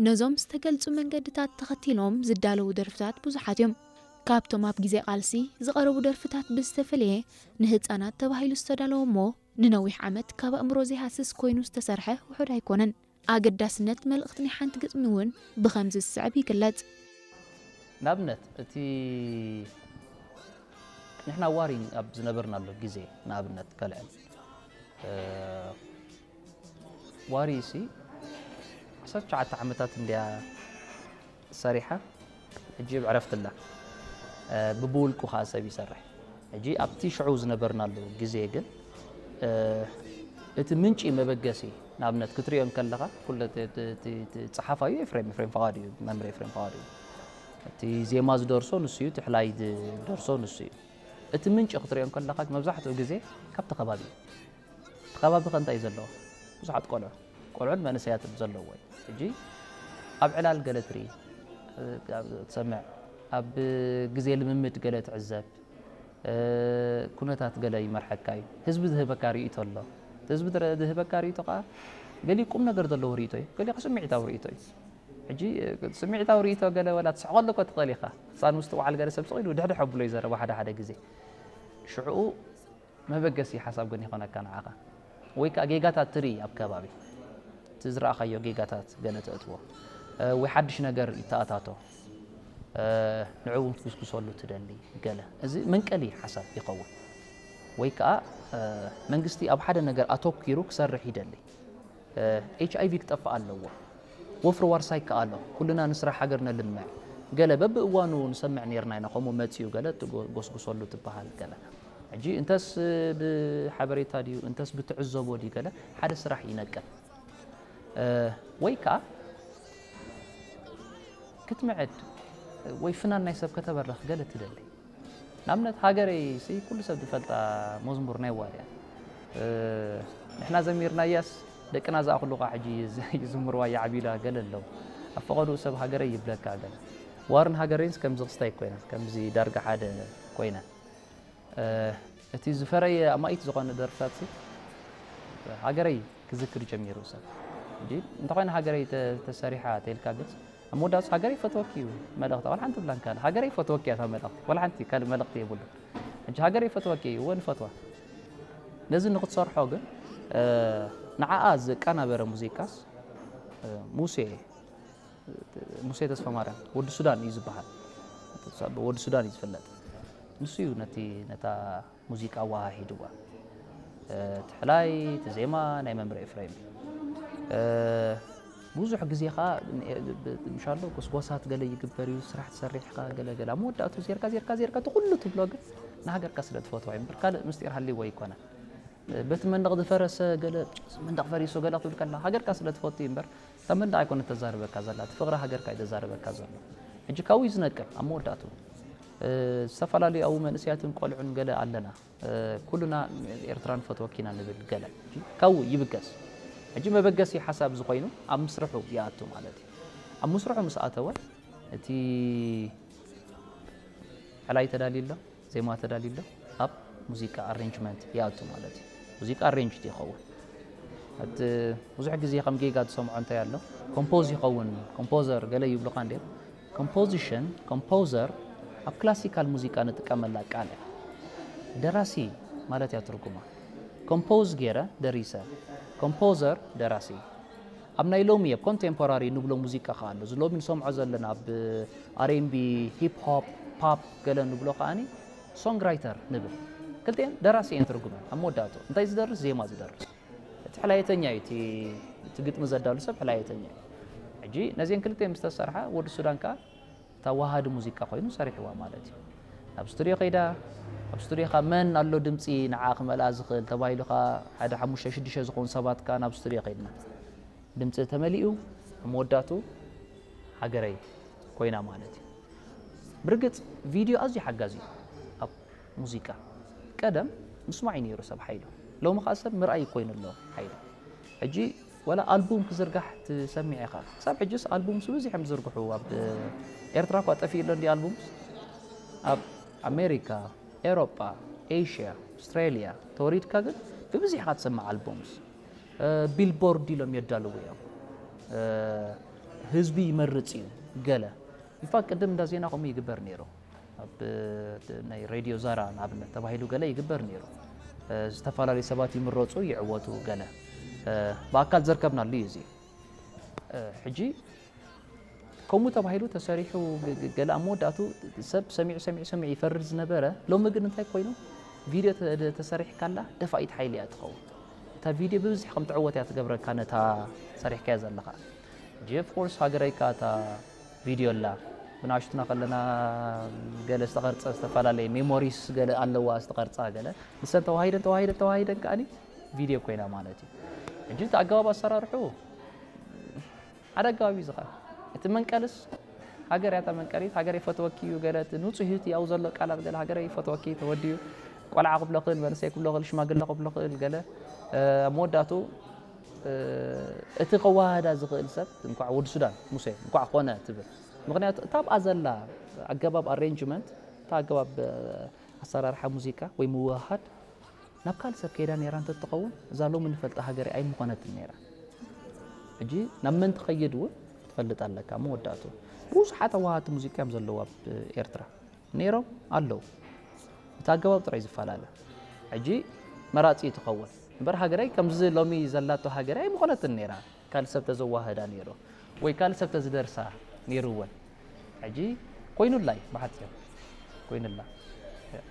ነዞም ዝተገልጹ መንገድታት ተኸቲሎም ዝዳለዉ ደርፍታት ብዙሓት እዮም። ካብቶም ኣብ ግዜ ቃልሲ ዝቐረቡ ደርፍታት ብዝተፈለየ፣ ንህጻናት ተባሂሉ ዝተዳለወ እሞ ንነዊሕ ዓመት ካብ ኣእምሮ ዘይሃስስ ኮይኑ ዝተሰርሐ ውሑድ ኣይኮነን። ኣገዳስነት መልእኽቲ ናይ ሓንቲ ግጥሚ እውን ብኸምዚ ዝስዕብ ይግለጽ። ንኣብነት እቲ ንሕና ዋሪ ኣብ ዝነበርናሉ ግዜ ንኣብነት ከልዕል፣ ዋሪ ሲ ዓሰርተ ትሽዓተ ዓመታት እንድያ ሰሪሓ፣ ሕጂ ኣብ ዕረፍቲ ኣላ። ብብውልቁ ከዓ ሰብ ይሰርሕ። ሕጂ ኣብቲ ሽዑ ዝነበርናሉ ግዜ ግን እቲ ምንጪ መበገሲ፣ ንኣብነት ክትሪኦ እንከለኻ ኩለ ጸሓፋዩ ኤፍሬም ኤፍሬም ፍቓዱ እዩ፣ መምህር ኤፍሬም ፍቓዱ እዩ። እቲ ዜማ ዝደርሶ ንሱ እዩ፣ እቲ ሕላይ ዝደርሶ ንሱ እዩ። እቲ ምንጪ ክትሪኦ እንከለኻ መብዛሕትኡ ግዜ ካብቲ ከባቢ እዩ። እቲ ከባቢ ከ እንታይ እዩ ዘለዎ? ብዙሓት ቆልዑ ቆልዑን መንእሰያትን ዘለዎ እዩ። ሕጂ ኣብ ዕላል ገለ ትርኢ፣ ትሰምዕ፣ ኣብ ግዜ ልምምድ ገለ ትዕዘብ፣ ኩነታት ገለ ይመርሐካ እዩ። ህዝቢ ዝህበካ ርእይቶ ኣሎ። ህዝቢ ዝህበካ ርእይቶ ከዓ ገሊኡ ቁም ነገር ዘለዎ ርእይቶ እዩ፣ ገሊኡ ስምዒታዊ ርእይቶ እዩ። ሕጂ ስምዒታዊ ርእይቶ ገለ ወላ ትስሕቐሉ እኮ ትኽእል ኢኻ። ህፃን ምስ ትወዓል ገለ ሰብ ስቕ ኢሉ ድሕድሕ ኣብሎ ይዘረባ ሓደ ሓደ ግዜ። ሽዕኡ መበገሲ ሓሳብ ግን ይኾነካ ንዓኻ። ወይ ከዓ ጌጋታት ትርኢ ኣብ ከባቢ። እቲ ዝረኣኻዮ ጌጋታት ገለ ተእትዎ። ወይ ሓድሽ ነገር ይተኣታቶ። ንዕኡ እውን ክትጉስጉሰሉ ትደሊ ገለ። እዚ መንቀሊ ሓሳብ ይኸውን። ወይ ከዓ መንግስቲ ኣብ ሓደ ነገር ኣተኲሩ ክሰርሕ ይደሊ። ኤች ኣይ ቪ ክጠፍእ ኣለዎ። ወፍሪ ዋርሳይ ይከኣሎ። ኩልና ንስራሕ ሃገር ነልምዕ። ገለ በብእዋኑ ንሰምዕ ነርና ኢና፣ ከምኡ መፅኡ ገለ ትጎስጉሰሉ ትበሃል ገለ። ሕጂ እንተስ ብሓበሬታ ድዩ እንተስ ብትዕዘቦ ድዩ ገለ ሓደ ስራሕ ይነቅል። ወይ ከዓ ክትምዕድ ወይ ፍናን ናይ ሰብ ከተበርኽ ገለ ትደሊ። ንኣብነት ሃገረይ ሲ ኩሉ ሰብ ዝፈልጣ መዝሙር ናይ ዋርያ። ንሕና ዘሚርናያስ ደቅና ዝኣኽሉ ኸዓ ሕጂ ይዝምርዋ ይዓብዩላ ገለ ኣለዉ። ኣብ ፈቐድኡ ሰብ ሃገረይ ይብለካ ገለ። ዋርን ሃገረይንስ ከምዚ ክስታይ ኮይና፣ ከምዚ ዳርጋ ሓደ ኮይና። እቲ ዝፈረየ ኣማኢት ዝኾነ ደርፍታት ሲ ሃገረይ ክዝክር ጀሚሩ ሰብ። ሕጂ እንተኾይነ ሃገረይ ተሰሪሓ ተልካ ግልጽ ኣብ መወዳእታ ሃገረይ ይፈትወኪ እዩ መልእኽታ። ዋላ ሓንቲ ብላን ካልእ ሃገረይ ይፈትወኪ እያ እታ መልእኽቲ። ዋላ ሓንቲ ካልእ መልእኽቲ የብሉ። ሕጂ ሃገረይ ይፈትወኪ እዩ፣ እወ ንፈትዋ። ነዚ ንክትሰርሖ ግን ንዓኣ ዘቀናበረ ሙዚቃስ ሙሴ ሙሴ ተስፋ ማርያም ወዲ ሱዳን እዩ ዝበሃል። ወዲ ሱዳን እዩ ዝፍለጥ። ንሱ እዩ ነቲ ነታ ሙዚቃ ኣወሃሂድዋ። እቲ ሕላይ፣ እቲ ዜማ ናይ መምህር ኤፍሬም እዩ። ብዙሕ ግዜ ኸዓ ምሻሎ ጎስጓሳት ገለ ይግበር እዩ፣ ስራሕ ትሰርሕ ኢኻ ገለ ገለ። ኣብ መወዳእቱ ዜርካ ዜርካ ዜርካ እቲ ኩሉ ትብሎ ግን ንሃገርካ ስለ ትፈትዋ እዩ እምበር ካልእ ምስጢር ሃልይዎ ኣይኮነን። በቲ መንደቕ ዝፈረሰ ገለ መንደቕ ፈሪሱ ገለ ክትብል ከላ ሃገርካ ስለ ትፈቱ እዩ እምበር እታ መንደቕ ኣይኮነ ተዛርበካ ዘላ እቲ ፍቕሪ ሃገርካ እዩ ተዛርበካ ዘሎ። ሕጂ ካብኡ እዩ ዝነቅል ኣብ መወዳእቱ ዝተፈላለዩ ኣብኡ መንእሰያትን ቆልዑን ገለ ኣለና ኩሉና ኤርትራ ንፈትወኪ ኢና ንብል ገለ ካብኡ ይብገስ። ሕጂ መበገሲ ሓሳብ እዚ ኮይኑ ኣብ ምስርሑ ይኣቱ ማለት እዩ። ኣብ ምስርሑ ምስ ኣተወ እቲ ሕላይ ተዳልዩ ኣሎ፣ ዜማ ተዳልዩ ኣሎ፣ ኣብ ሙዚቃ ኣሬንጅመንት ይኣቱ ማለት እዩ። ሙዚቃ ኣሬንጅድ ይኸውን። እቲ ብዙሕ ግዜ ከም ጌጋ ትሰምዖ እንታይ ኣሎ ኮምፖዝ ይኸውን ኮምፖዘር ገለ ይብሉኻ እንድዮም። ኮምፖዚሽን ኮምፖዘር ኣብ ክላሲካል ሙዚቃ ንጥቀመላ ቃል እያ። ደራሲ ማለት እያ ትርጉማ። ኮምፖዝ ገይረ ደሪሰ። ኮምፖዘር ደራሲ። ኣብ ናይ ሎሚ ኣብ ኮንቴምፖራሪ ንብሎ ሙዚቃ ከኣ ኣሎ። እዚ ሎሚ ንሰምዖ ዘለና ኣብ ኣር ኤን ቢ፣ ሂፕ ሆፕ፣ ፓፕ ገለ ንብሎ ከኣኒ ሶንግ ራይተር ንብል። ክልቲኤን ደራሲ እየን ትርጉመን። ኣብ መወዳእቱ እንታይ ዝደርስ ዜማ ዝደርስ። እቲ ሕላየተኛ እዩ እቲ ግጥሚ ዘዳሉ ሰብ ሕላየተኛ እዩ። ሕጂ ነዚአን ክልተ ምስ ተሰርሓ ወዲ ሱዳን ከኣ እታ ወሃዲ ሙዚቃ ኮይኑ ሰሪሕዋ ማለት እዩ። ናብ ስቱድዮ ከይዳ ኣብ ስቱድዮ ከኣ መን ኣሎ ድምጺ ንዓ ክመልኣ ዝኽእል ተባሂሉ ከኣ ሓደ ሓሙሽተ ሽዱሽተ ዝኾኑ ሰባት ከኣ ናብ ስቱድዮ ከይድና ድምጺ ተመሊኡ ኣብ መወዳእቱ ሃገረይ ኮይና ማለት እዩ። ብርግጽ ቪድዮ ኣዝዩ ሓጋዚ እዩ ኣብ ሙዚቃ። ቀደም ምስማዕ እዩ ነይሩ ሰብ ሓይሉ። ሎሚ ከኣ ሰብ ምርኣይ ኮይኑ ኣሎ ሓይሉ። ሕጂ ወላ ኣልቡም ክዝርጋሕ ትሰሚዕ ኢኻ። ክሳብ ሕጅስ ኣልቡምስ ብብዝሕ እዮም ዝዝርግሑ ኣብ ኤርትራ እኳ ጠፊኡ ኣሎ እንዲ ኣልቡምስ ኣብ ኣሜሪካ፣ ኤሮጳ፣ ኤሽያ፣ ኣውስትራሊያ ተወሪድካ ግን ብብዝሕ ኢኻ ትሰምዕ ኣልቡምስ። ቢልቦርድ ኢሎም የዳልዉ እዮም። ህዝቢ ይመርጽ እዩ። ገለ ኢንፋክት ቅድም እንዳ ዜና ከምኡ ይግበር ነይሩ። ኣብ ናይ ሬድዮ ዛራ ንኣብነት ተባሂሉ ገለ ይግበር ነይሩ። ዝተፈላለዩ ሰባት ይምረጹ፣ ይዕወቱ፣ ገለ ብኣካል ዘርከብናሉ እዩ። እዚ ሕጂ ከምኡ ተባሂሉ ተሰሪሑ ገለ ኣብ መወዳእቱ ሰብ ሰሚዑ ሰሚዑ ሰሚዑ ይፈርድ ዝነበረ፣ ሎሚ ግን እንታይ ኮይኑ፣ ቪድዮ ተሰሪሕካላ ደፋኢት ሓይሊ እያ ትኸውን። እታ ቪድዮ ብብዝሒ ከም ትዕወት እያ ትገብረካ፣ ነታ ሰሪሕካያ ዘለኻ። ኦፍኮርስ ሃገረይካ እታ ቪድዮ ኣላ። ብናሽቱና ከለና ገለ ዝተቐርጸ ዝተፈላለየ ሜሞሪስ ገለ ኣለዋ ዝተቐርጻ ገለ፣ ንሰን ተዋሂደን ተዋሂደን ተዋሂደን ከኣኒ ቪድዮ ኮይና ማለት እዩ። ሕጂ እቲ ኣገባብ ኣሰራርሑ ሓደ ኣገባብ እዩ ዝኸ እቲ መንቀልስ ሃገር እያ መንቀሊት፣ ሃገር ይፈትወኪ እዩ ገለ፣ እቲ ንጹህ ህይወት ያው ዘሎ ቃላት ገለ፣ ሃገር ይፈትወኪ፣ ተወዲዩ፣ ቆልዓ ክብሎ ክእል፣ መንእሰይ ክብሎ ክእል፣ ሽማግለ ክብሎ ክእል ገለ። ኣብ መወዳቱ እቲ ከዋህዳ ዝኽእል ሰብ እንኳዕ ወዲ ሱዳን ሙሴ እንኳዕ ኮነ ትብል። ምክንያቱ እታ ኣብኣ ዘላ ኣገባብ ኣሬንጅመንት፣ እታ ኣገባብ ኣሰራርሓ ሙዚቃ ወይ ምውሃድ ናብ ካልእ ሰብ ከይዳ ነይራ እንተትኸውን፣ እዛ ሎሚ ንፈልጣ ሃገር ኣይምኾነትን ነይራ። ሕጂ ናብ መን ትኸይድ እውን ትፈልጥ ኣለካ። መወዳእቱ ብዙሓት ኣዋሃድቲ ሙዚቃ እዮም ዘለዉ ኣብ ኤርትራ፣ ነይሮም ኣለዉ። እቲ ኣገባብ ጥራይ ዝፈላለ። ሕጂ መራጺ ትኸውን እምበር፣ ሃገረይ ከምዚ ሎሚ ዘላቶ ሃገረይ ኣይምኾነትን ነይራ ካልእ ሰብ ተዘዋህዳ ነይሩ፣ ወይ ካልእ ሰብ ተዝደርሳ ነይሩ እውን። ሕጂ ኮይኑላ እዩ ብሓጺሩ፣ ኮይኑላ።